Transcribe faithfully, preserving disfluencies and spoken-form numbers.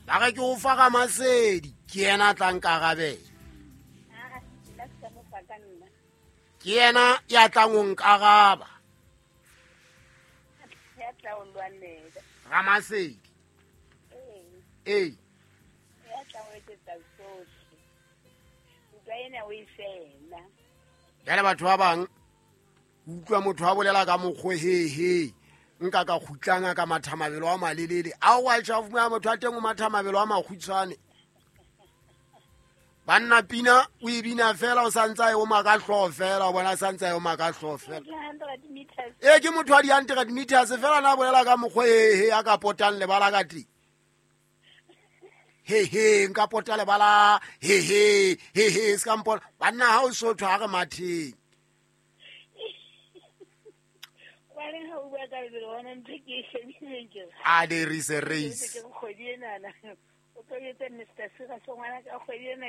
Ba re ke o fa Ramasedi, ke yena a tla nkarabela. Ah, nna se ka mo fa ka nna. Ke yena ya tlang ho nkaraba. Ya tla o lwanela. Ramasedi. Ee. Ee. Ya tla o etsetsa tsohle. Ntwa ena o e fela. Jwale batho ba bang utlwa motho a bolela ka mokgwa hehe nka ka kgutlanga ka matha mabelo a malelele a wa tjha fumana motho a teng o matha mabelo a makgutshwane. Banna pina o e bina fela o santsa e o maka hlooho fela o bona santsa e o maka hlooho fela. Ke hundred meters. E ke motho wa di hundred meters fela na bolela ka mokgwa hehe a ka potang lebala ka teng. He he nka pota lebala he he he he se ka mpona banna ha o sotho ha re matheng. Wa reng ha o bua ka lebelo bona ntho ke e shebileng ke re. A there is a race. Ke kgwedi enana. O tlo etsa Mister Sira so ngwana ka kgwedi ena